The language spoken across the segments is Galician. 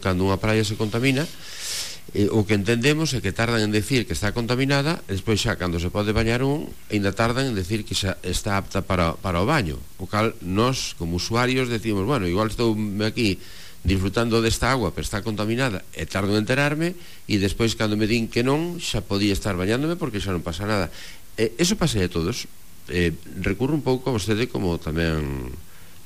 Cando unha praia se contamina, o que entendemos é que tardan en decir que está contaminada, e despois xa cando se pode bañar ainda tardan en decir que xa está apta para o baño, o cal nós como usuarios decimos, bueno, igual estou aquí disfrutando desta agua pero está contaminada e tardo en enterarme, e despois cando me din que non, xa podía estar bañándome porque xa non pasa nada. Eso pasa a todos. Recurro un pouco a vostede como tamén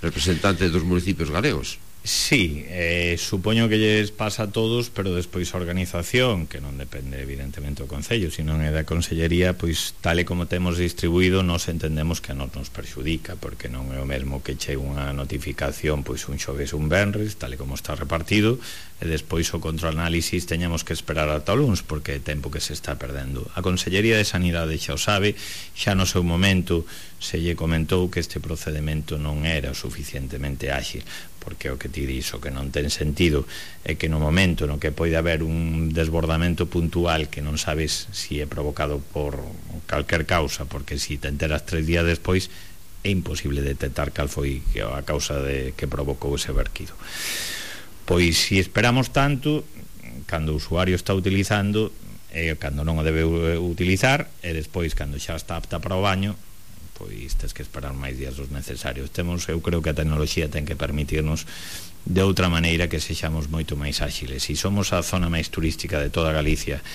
representante dos municipios galegos. Sí, supoño que lles pasa a todos, pero despois a organización, que non depende evidentemente do Concello, sino é da Consellería, pois tal e como temos distribuído, nos entendemos que a nos perxudica, porque non é o mesmo que chegue unha notificación pois un xoves un venres, tal e como está repartido, e despois o controanálisis teñamos que esperar ata o luns, porque é tempo que se está perdendo. A Consellería de Sanidade xa o sabe, xa no seu momento se lle comentou que este procedimento non era suficientemente áxil, porque o que ti dis, o que non ten sentido é que no momento no que pode haber un desbordamento puntual que non sabes si é provocado por calquer causa, porque si te enteras 3 días despois é imposible detectar cal foi a causa que provocou ese verquido. Pois si esperamos tanto, cando o usuario está utilizando, cando non o debe utilizar, e despois cando xa está apta para o baño, pois tens que esperar máis días dos necesarios. Eu creo que a tecnoloxía ten que permitirnos de outra maneira que sexamos moito máis áxiles. Se somos a zona máis turística de toda Galicia,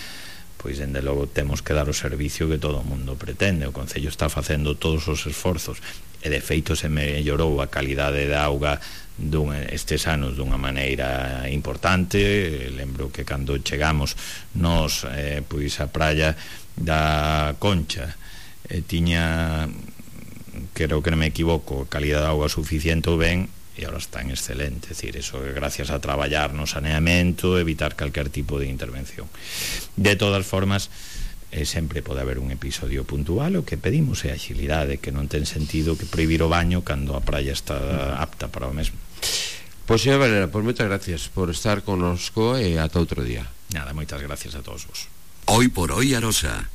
pois dende logo temos que dar o servicio que todo o mundo pretende. O Concello está facendo todos os esforzos e de feito se mellorou a calidade da auga estes anos dunha maneira importante. Lembro que cando chegamos nos pois a praia da Concha tiña, creo que non me equivoco, calidad de auga suficiente ou ben, e agora está en excelente. É dicir, eso é gracias a traballar no saneamento, evitar calquer tipo de intervención. De todas formas, sempre pode haber un episodio puntual. O que pedimos é agilidade, que non ten sentido que prohibir o baño cando a praia está apta para o mesmo. Pois, señora Valera, pois moitas gracias por estar connosco e ata outro día. Nada, moitas gracias a todos vos. Hoy por hoy Arosa.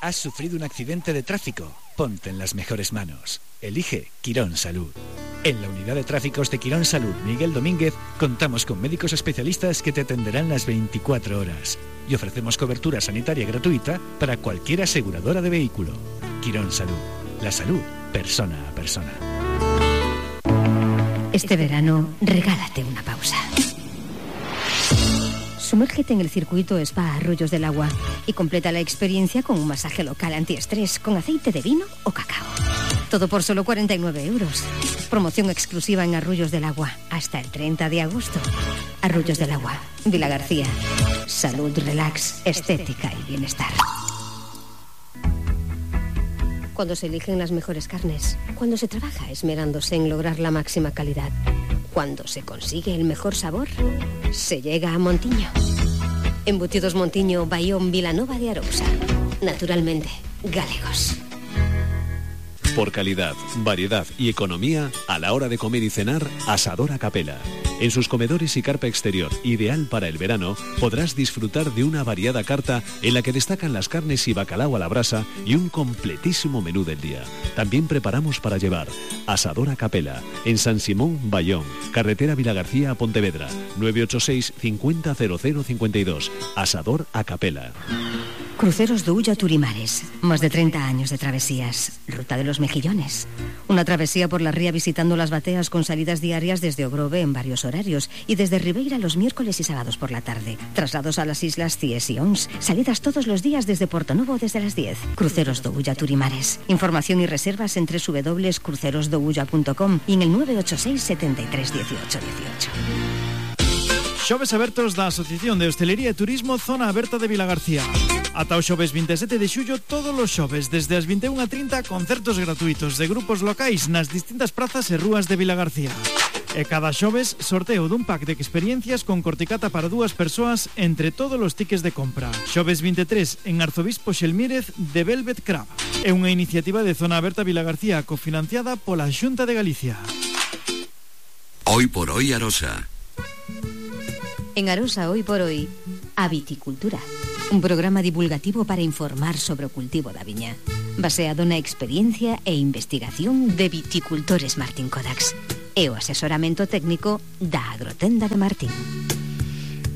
¿Has sufrido un accidente de tráfico? Ponte en las mejores manos. Elige Quirón Salud. En la unidad de tráficos de Quirón Salud Miguel Domínguez contamos con médicos especialistas que te atenderán las 24 horas y ofrecemos cobertura sanitaria gratuita para cualquier aseguradora de vehículo. Quirón Salud. La salud, persona a persona. Este verano, regálate una pausa. Sumérgete en el circuito Spa Arroyos del Agua y completa la experiencia con un masaje local antiestrés con aceite de vino o cacao. Todo por solo 49 euros. Promoción exclusiva en Arroyos del Agua hasta el 30 de agosto. Arroyos del Agua, Vila García. Salud, relax, estética y bienestar. Cuando se eligen las mejores carnes, cuando se trabaja esmerándose en lograr la máxima calidad, cuando se consigue el mejor sabor, se llega a Montiño. Embutidos Montiño, Bayón, Vilanova de Arousa. Naturalmente, galegos. Por calidad, variedad y economía, a la hora de comer y cenar, Asador a Capela. En sus comedores y carpa exterior, ideal para el verano, podrás disfrutar de una variada carta en la que destacan las carnes y bacalao a la brasa y un completísimo menú del día. También preparamos para llevar. Asador a Capela, en San Simón, Bayón, carretera Vilagarcía a Pontevedra, 986 50 00 52. Asador a Capela. Cruceros do Ulla Turimares, más de 30 años de travesías. Ruta de los Mejillones. Una travesía por la ría visitando las bateas con salidas diarias desde Ogrove en varios horarios y desde Ribeira los miércoles y sábados por la tarde. Traslados a las islas Cies y Ons. Salidas todos los días desde Portonovo desde las 10. Cruceros do Ulla Turimares. Información y reservas en www.crucerosdoulla.com y en el 986 73 18 18. Xoves abertos da Asociación de Hostelería e Turismo Zona Aberta de Vilagarcía. Ata o xoves 27 de xullo, todos os xoves, desde as 21:30, concertos gratuitos de grupos locais nas distintas prazas e rúas de Vilagarcía. E cada xoves, sorteo dun pack de experiencias con corticata para 2 persoas entre todos os tickets de compra. Xoves 23, en Arzobispo Xelmírez de Velvet Crab. É unha iniciativa de Zona Aberta Vilagarcía cofinanciada pola Xunta de Galicia. Hoy por hoy Arosa. En Arosa Hoy por Hoy, a viticultura. Un programa divulgativo para informar sobre o cultivo da viña, baseado na experiencia e investigación de viticultores Martín Codax. e o asesoramento técnico da Agrotenda de Martín.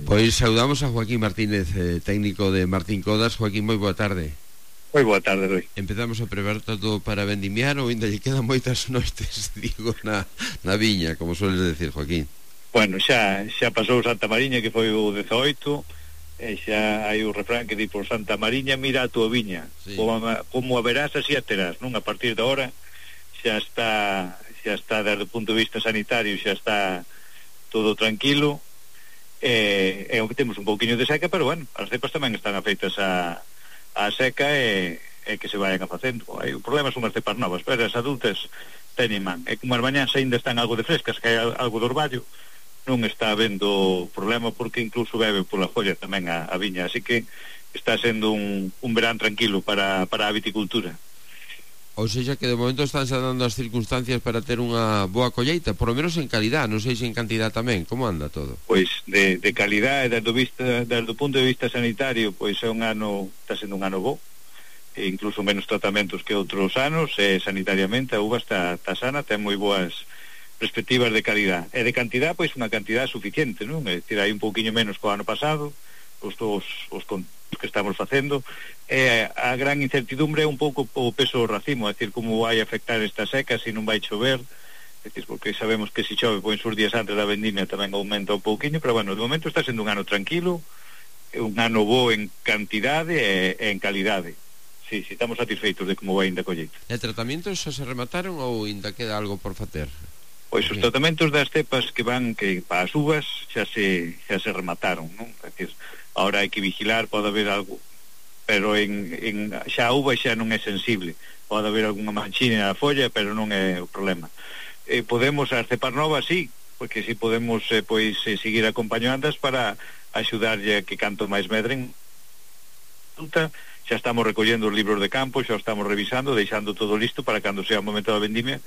Pois saudamos a Joaquín Martínez, técnico de Martín Codas. Joaquín, moi boa tarde. Moi boa tarde, Rui. Empezamos a preparar todo para vendimiar ou ainda lle quedan moitas noites, digo, na viña, como sueles decir, Joaquín? Bueno, xa pasou Santa Mariña, que foi o 18, e xa hai o refrán que di por Santa Mariña, mira a tua viña, sí. Como a verás, así a terás, non? A partir de ahora xa está desde o punto de vista sanitario, xa está todo tranquilo, e o que temos un pouquiño de seca, pero bueno, as cepas tamén están afeitas a seca e que se vayan a facendo. O problema son as cepas novas, pero as adultas teñen man, e como as mañás ainda están algo de frescas, que hai algo de orballo, non está habendo problema, porque incluso bebe pola folla tamén a viña, así que está sendo un verán tranquilo para a viticultura. Ou seja que de momento están xa dando as circunstancias para ter unha boa colleita, por lo menos en calidad, non sei se en cantidad tamén. Como anda todo? Pois de calidad, desde o punto de vista sanitario, pois é está sendo un ano bo, e incluso menos tratamentos que outros anos, e sanitariamente a uva está sana, ten moi boas perspectivas de calidad. E de cantidad, pois unha cantidad suficiente, non? É dicir, hai un pouquiño menos que o ano pasado, os que estamos facendo, e a gran incertidumbre é un pouco o peso do racimo, é dicir, como vai afectar esta seca, se non vai chover, é dicir, porque sabemos que se chove, pois uns días antes da vendimia tamén aumenta un pouquiño, pero bueno, de momento está sendo un ano tranquilo, un ano bo en cantidade e en calidade. Sí, estamos satisfeitos de como vai ainda a colleita. E tratamentos xa se remataron ou ainda queda algo por facer? Pois os tratamentos das cepas que para as uvas xa se remataron, non? É dicir, ahora hai que vigilar, pode haber algo, pero xa a uva xa non é sensible, pode haber algunha manchina na folla, pero non é o problema. Podemos as cepas novas, sí, porque si podemos seguir acompañándoas para axudarlle a que canto máis medren. Xa estamos recollendo os libros de campo, xa estamos revisando, deixando todo listo para cando sea o momento da vendimia,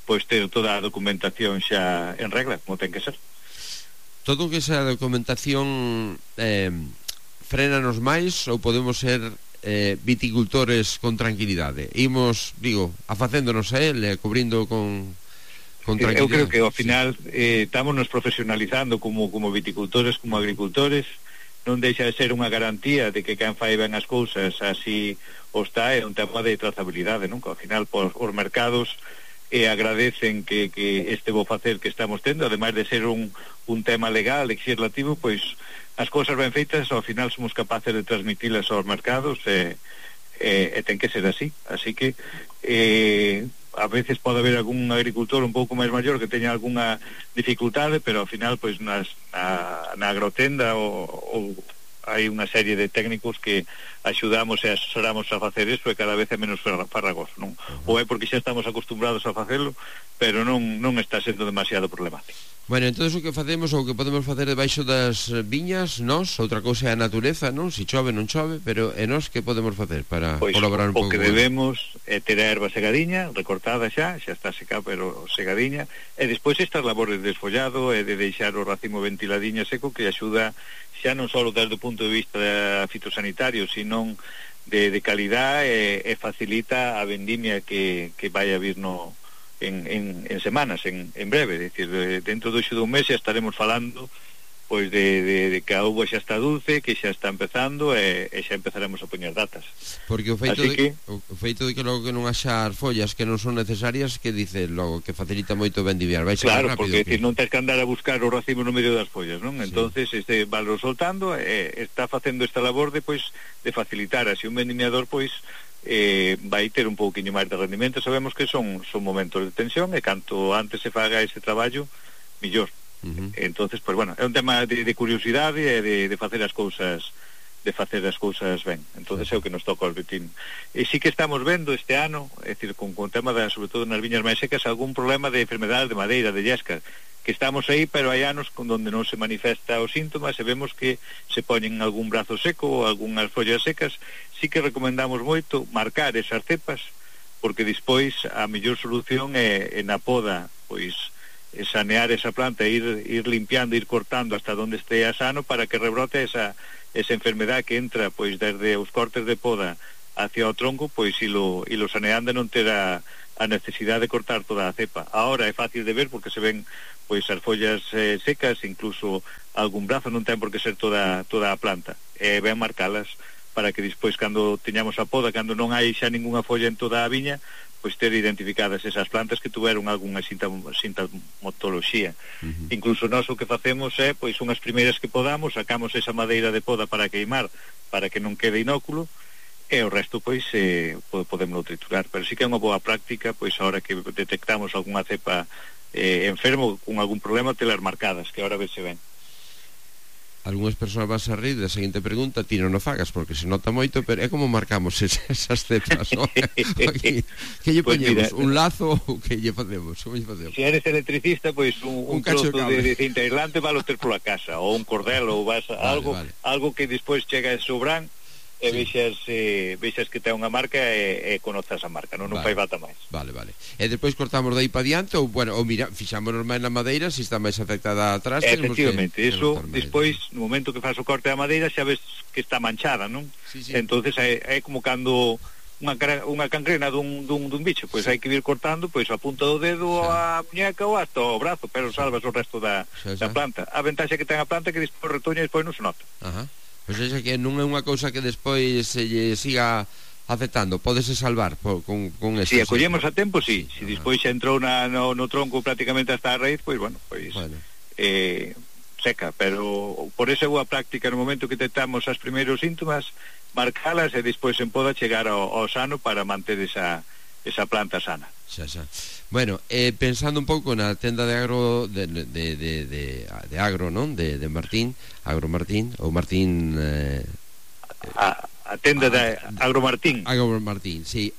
pois ter toda a documentación xa en regla, como ten que ser. Todo o que esa documentación frenanos máis ou podemos ser viticultores con tranquilidade? Imos, afacéndonos a él, cubrindo con tranquilidade. Eu creo que ao final estamos nos profesionalizando como viticultores, como agricultores, non deixa de ser unha garantía de que quen fai ben as cousas así o está, é un tema de trazabilidade, non? Que ao final os mercados agradecen que este bo facer que estamos tendo, ademais de ser un tema legal, legislativo, pois as cousas ben feitas ao final somos capaces de transmitilas aos mercados e ten que ser así que a veces pode haber algún agricultor un pouco máis maior que teña algunha dificultade, pero ao final pois na agrotenda ou hai unha serie de técnicos que axudamos e asesoramos a facer eso, e cada vez é menos farragoso, non? Ou é porque xa estamos acostumbrados a facelo, pero non está sendo demasiado problemático. Bueno, entón o que facemos ou que podemos facer debaixo das viñas, nós, outra cousa é a natureza, non? Si chove, non chove, pero é nós que podemos facer para colaborar un pouco? O que debemos é ter a erva segadiña, recortada xa está seca, pero segadiña, e despois estas labores de desfollado e de deixar o racimo ventiladiño seco, que axuda xa non só desde o punto de vista fitosanitario, sino de calidad, e facilita a vendimia que vai a vir en semanas, en breve, é dicir, dentro do dun mes xa estaremos falando pois de que a uva xa está dulce, que xa está empezando, e xa empezaremos a poñer datas. Porque o feito de que logo que non haxa as follas que non son necesarias, que dice logo que facilita moito vendimiar, vai ser claro, rápido. Porque non tens que andar a buscar o racimo no medio das follas, non? Sí. Entonces valo soltando, está facendo esta labor de facilitar así un vendimiador, vai ter un pouquiño máis de rendimento. Sabemos que son momentos de tensión, e canto antes se faga ese traballo, millor. Entonces, pues bueno, é un tema de curiosidade e de facer as cousas ben. Entonces é o que nos toca ao vitín. E sí que estamos vendo este ano, é dicir, con tema sobre todo nas viñas máis secas, algún problema de enfermedades de madeira, de llesca, que estamos aí, pero hai anos onde non se manifesta os síntomas, e vemos que se poñen algún brazo seco ou algunhas follas secas. Sí que recomendamos moito marcar esas cepas, porque despois a mellor solución é na poda, sanear esa planta, ir limpiando, ir cortando hasta donde estea sano, para que rebrote esa enfermedad que entra desde os cortes de poda hacia o tronco, e lo saneando non ter a a necesidade de cortar toda a cepa. Ahora é fácil de ver porque se ven pois as follas secas, incluso algún brazo, non ten por que ser toda a planta. Ben marcalas para que despois, cando teñamos a poda, cando non hai xa ninguna folla en toda a viña, pois ter identificadas esas plantas que tuveron algunha sintomatoloxía. Incluso nós o que facemos é, pois unhas primeiras que podamos, sacamos esa madeira de poda para queimar, para que non quede inóculo, e o resto pois podemos triturar. Pero sí que é unha boa práctica, pois ahora que detectamos algunha cepa enfermo con algún problema, telas marcadas, que ahora se ven. Algúnas persoas vas a rir da seguinte pregunta: ti non o fagas porque se nota moito, pero é como marcamos esas cepas, non? Que lle poñemos? Un lazo ou que lle facemos? Se eres electricista, pois un trozo de cinta aislante vale ter pola casa, ou un cordel, ou vas algo que despois chega a sobran e vexas que ten unha marca e conozas a marca, non fai falta máis. Vale. E despois cortamos de aí para diante, ou mira, fixámonos máis na madeira, se está máis afectada atrás. Efectivamente, iso despois, no momento que faz o corte da madeira, xa ves que está manchada, non? Sí. Entonces é como cando unha cangrena dun bicho, pois hai que ir cortando pois a punta do dedo, a muñeca ou hasta o brazo, pero salvas o resto da planta. A ventaxa que ten a planta é que despois retoña e despois non se nota. Pois é que non é unha cousa que despois se lle siga afectando, podese salvar con eso. Si acollemos a tempo, si despois xa entrou no tronco prácticamente hasta a raíz, pois seca, pero por esa boa práctica no momento que detectamos os primeiros síntomas, marcalas e despois en poda chegar ao sano para manter esa planta sana. Xa. Bueno, pensando un pouco na tenda de agro de agro, non? De Martín, Agro Martín, ou Martín a tenda de Agro Martín. Agro Martín, sí.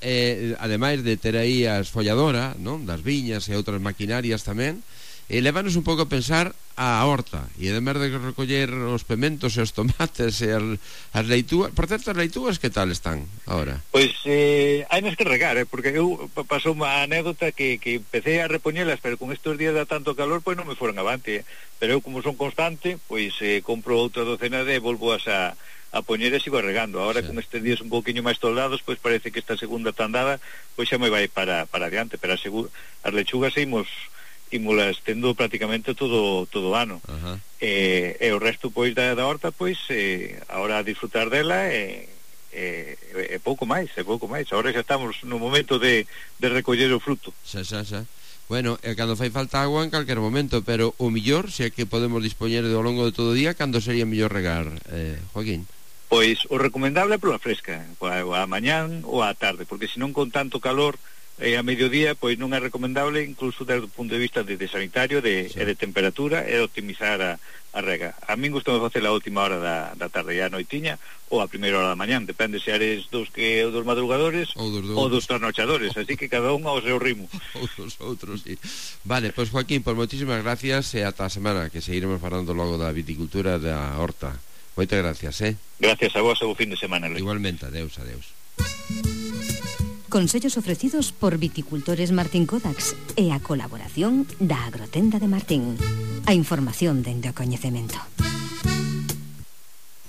Ademais de ter aí a esfolladora, non? Das viñas e outras maquinarias tamén, levanos un pouco a pensar a horta, e ademais de recoller os pementos e os tomates e as leitúas. Por certo, as leitúas que tal están agora? Pois hai nas que regar, porque eu pasou unha anécdota que empecé a repoñelas, pero con estes días da tanto calor, pois non me foron avante, pero eu como son constante, pois compro outra docena de volvoas a poñer e sigo regando. Agora con estes días un pouquiño máis toldados, pois parece que esta segunda tandada pois xa me vai para adiante, pero as lechugas ímolas tendo prácticamente todo o ano. E o resto pois da horta, pois ahora a disfrutar dela e pouco máis. Ahora xa estamos no momento de recoller o fruto. Xa. Bueno, cando fai falta agua en calquer momento, pero o millor, se é que podemos dispoñer ao longo de todo o día, cando sería mellor regar, Joaquín? Pois o recomendable é pola fresca, a mañán ou a tarde, porque senón con tanto calor a mediodía, pois non é recomendable, incluso desde o punto de vista de sanitario e de temperatura, e de optimizar a rega. A min gustame facer a última hora da tarde e a noitiña, ou a primeira hora da mañán, depende se eres dos madrugadores ou dos trasnochadores, así que cada un ao seu ritmo. Ou dos outros, sí. Vale, pois Joaquín, pois moitísimas gracias, e ata a semana que seguiremos falando logo da viticultura da horta. Moitas gracias, Gracias a vos e bo fin de semana, Luis. Igualmente, adeus. Consellos ofrecidos por Viticultores Martín Kodax e a colaboración da Agrotenda de Martín. A información dende o coñecemento.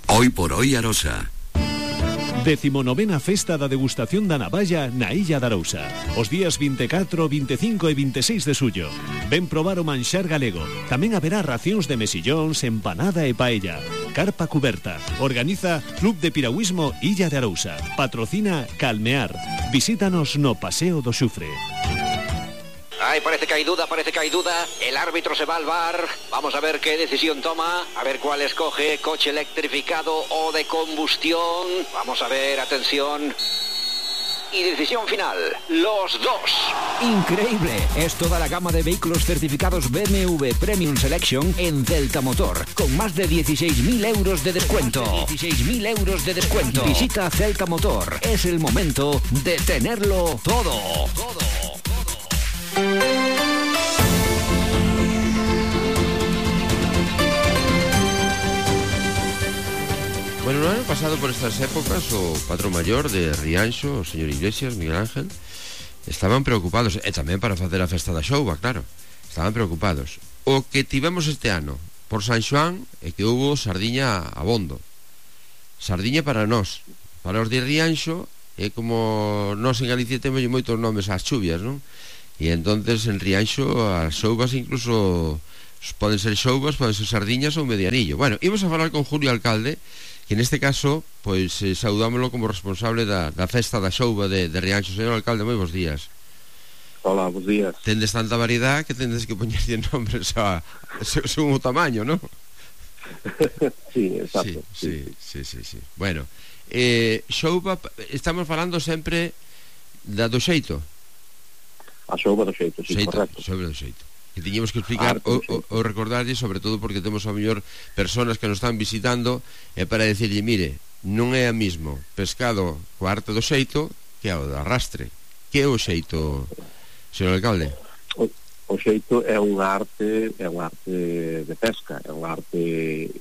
Hoy por hoy Arosa. 19ª Festa da Degustación da Navalla na Illa de Arousa. Os días 24, 25 e 26 de xullo. Ven probar o manxar galego. Tamén haberá racións de mesillóns, empanada e paella. Carpa cuberta. Organiza Club de Piragüismo Illa de Arousa. Patrocina Calmear. Visítanos no Paseo do Xufre. Ay, parece que hay duda. El árbitro se va al VAR. Vamos a ver qué decisión toma. A ver cuál escoge. Coche electrificado o de combustión. Vamos a ver, atención. Y decisión final, los dos. Increíble, es toda la gama de vehículos certificados BMW Premium Selection en Celta Motor, con más de 16.000 euros de descuento. 16.000 euros de descuento. Visita Celta Motor, es el momento de tenerlo todo. Bueno, no ano pasado por estas épocas o patrón maior de Rianxo, o señor Iglesias, Miguel Ángel, estaban preocupados, e tamén para facer a festa da xouba, claro, estaban preocupados. O que tivemos este ano por San Xoán é que houbo sardiña abondo. Sardiña para nós, para os de Rianxo, é como nós en Galicia temos moitos nomes ás chuvias, non? E entonces en Rianxo as xouvas incluso poden ser xouvas, poden ser sardiñas ou medianillo. Bueno, íbamos a falar con Julio Alcalde, que neste caso pois saudámoslo como responsable da festa da xouva de Rianxo. Señor Alcalde, moi bons días. Hola, bons días. Tendes tanta variedade que tendes que poñerlle nombres según o tamaño, non? Sí, exacto. Sí. Bueno, xouva, estamos falando sempre do xeito. A xouva do xeito, sí, correcto. Xouva do xeito. Que tiñemos que explicar ou recordarlle, sobre todo porque temos a mellor personas que nos están visitando, para decirlle, mire, non é a mismo pescado co arte do xeito que o do arrastre. Que é o xeito, señor alcalde? O xeito é unha arte de pesca, é unha arte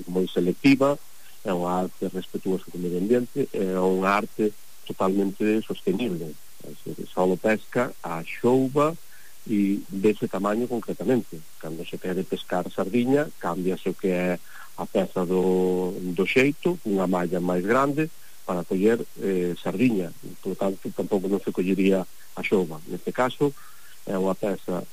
moi selectiva, é unha arte respetuosa co medio ambiente, é unha arte totalmente sostenible. Só pesca a xouva e dese tamaño concretamente. Cando se quere pescar sardiña, cámbiase o que é a peza do xeito, unha malla máis grande para coller sardiña. Por tanto, tampouco non se collería a xouva. Neste caso, é unha peza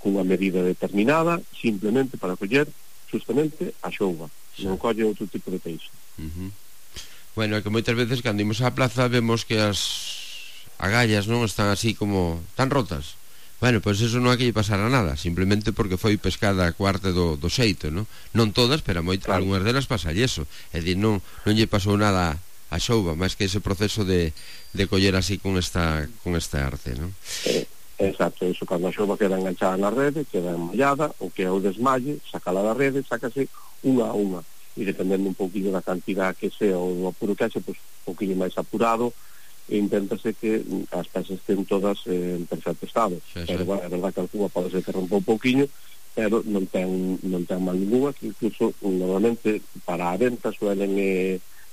cunha medida determinada, simplemente para coller justamente a xouva. Non colle outro tipo de peixe. Bueno, é que moitas veces cando imos á plaza vemos que as agallas non están así como tan rotas. Bueno, pois eso non hai que lle pasar a nada, simplemente porque foi pescada co arte do xeito, non? Non todas, pero algunhas delas pasalle eso. É dicir, non lle pasou nada a xouva, máis que ese proceso de coller así con esta arte, non? Exacto, eso, cando a xouva queda enganchada na rede, queda enmallada, o que é o desmalle, sacala da rede, sácase unha a unha, e dependendo un pouquinho da cantidad que sea o do apuro que haxe, pois un pouquinho máis apurado, e inténtase que as pezas estén todas en perfecto estado. Pero, bueno, é verdad que algunha pode ser que rompa un pouquinho, pero non ten mal ninguna, que incluso, normalmente, para a venta suelen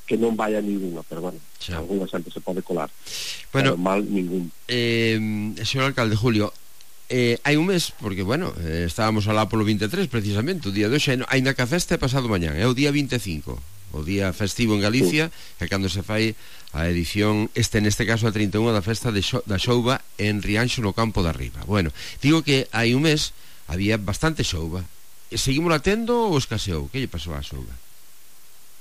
que non vai a ninguna, pero bueno, alguna sempre se pode colar. Bueno, pero mal ningún. Señor alcalde Julio, hai un mes, porque, bueno, estábamos alá polo 23, precisamente, o día de hoxe, aínda que a festa é pasado mañán, é o día 25, o día festivo en Galicia, que é cando se fai a edición, neste caso a 31 da festa da xouva en Rianxo, no Campo da Riba. Bueno, digo que hai un mes había bastante xouva. Seguimos latendo ou escaseou? Que lle pasou á xouva?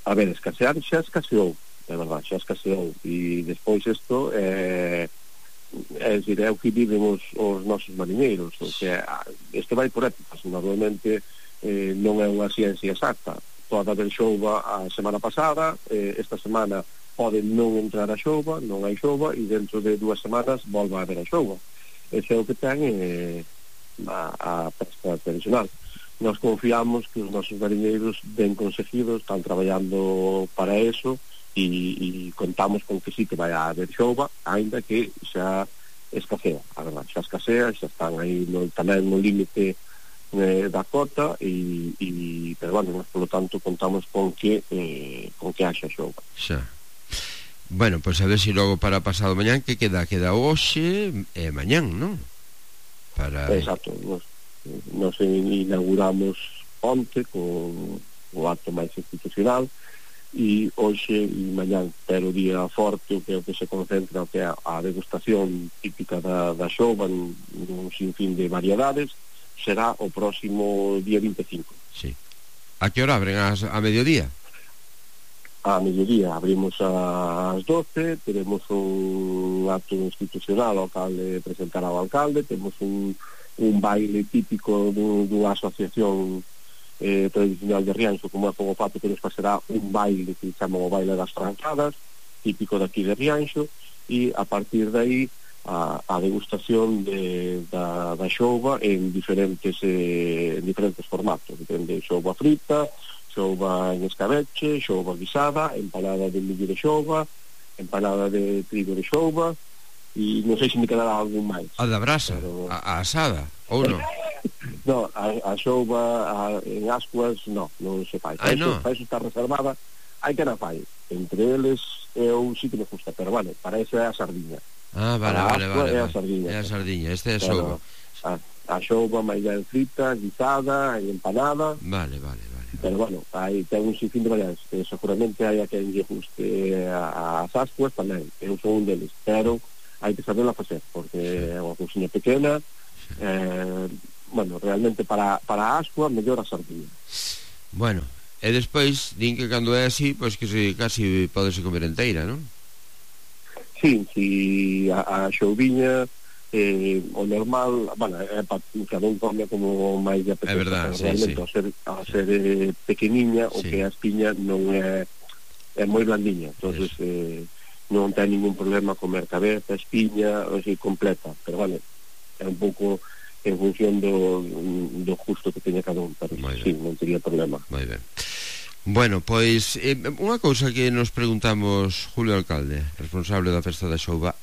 A ver, escasear xa escaseou, é verdade, xa escaseou, e despois isto é o que viven os nosos mariñeiros, o que isto vai por épocas, normalmente non é unha ciencia exacta. Pode haber xouva a semana pasada, esta semana pode non entrar a xouva, non hai xouva, e dentro de 2 semanas volva a haber a xouva. Ese é o que ten a pesca tradicional. Nos confiamos que os nosos mariñeiros ben conseguidos están traballando para eso e contamos con que sí que vai a haber xouva, ainda que xa escasea, a verdade, xa escasea, xa están aí tamén no límite da cota pero bueno, por lo tanto contamos con que haxa xouva. Xa. Bueno, pois a ver se logo para pasado mañán que queda hoxe e mañán, non? Exacto, nos inauguramos onte con o acto máis institucional e hoxe e mañán, pero o día forte o que se concentra o que é a degustación típica da xouva nun sinfín de variedades será o próximo día 25. Sí. A que hora abren? A mediodía? A mediodía, abrimos ás 12, teremos un acto institucional ao alcalde, presentará ao alcalde, temos un baile típico dunha asociación tradicional de Rianxo, como é o fato que nos pasará un baile que chamamos o baile das trancadas, típico daqui de Rianxo, e a partir de aí a degustación da xouva en diferentes formatos, depende, xouva frita, xouva en escabeche, xouva guisada, empanada de millo de xouva, empanada de trigo de xouva, e non sei se me quedará algún máis. A da brasa, pero... a asada, ou non? No, a xouva en ascuas non se fai. Para iso está reservada, hai que na fai. Entre eles eu sí que me gusta, pero vale, para eso é a sardiña. Vale. É a sardiña. É a sardiña, este é a xouva. A xouva máis ben frita, guisada, empanada. Vale. pero bueno, ten un sinfín de variantes. Seguramente hai a quen lle guste as ascuas tamén, eu son un deles, pero hai que saberla facer, porque é unha cousinha pequena. Bueno, realmente para a ascua mellor a sardinha. Bueno, e despois din que cando é así, pois que casi podese comer enteira, non? Sí, a xouviña o normal, bueno, cada un come como máis lle apetece. É verdade, realmente, ao ser pequeniña, o que a espiña non é moi blandiña, entonces non ten ningún problema comer cabeza, espiña, así completa, pero vale, é un pouco en función do gusto que teña cada un, pero sí, non teria problema. Moi ben. Bueno, pois unha cousa que nos preguntamos Julio Alcalde, responsable da festa da Xouba,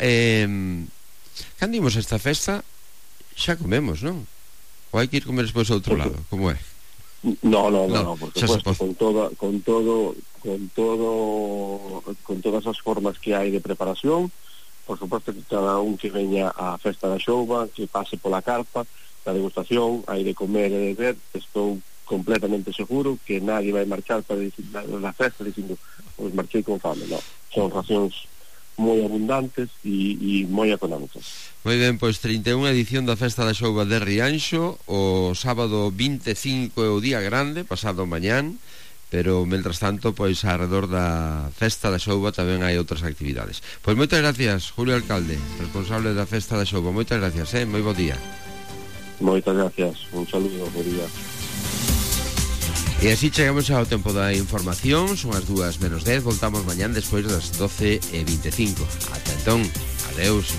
cando imos a esta festa xa comemos, non? Ou hai que ir comer despois ao outro lado, como é? No, por supuesto, con todas as formas que hai de preparación, por supuesto que cada un que veña á festa da Xouba, que pase pola carpa da degustación, hai de comer e de beber. Estou completamente seguro que nadie vai marchar para la festa dicindo, pues marchei con fame, no, son racións moi abundantes e moi económicas. Moi ben, pois 31 edición da Festa da Xouba de Rianxo, o sábado 25 é o día grande, pasado mañán, pero mentras tanto, pois alrededor da Festa da Xouba tamén hai outras actividades. Pois moitas gracias, Julio Alcalde, responsable da Festa da Xouba. Moitas gracias, moi bo día. Moitas gracias, un saludo, bo día. E así chegamos ao tempo da información. Son as 2:10. Voltamos mañán despois das 12:25. Ata entón, adeus.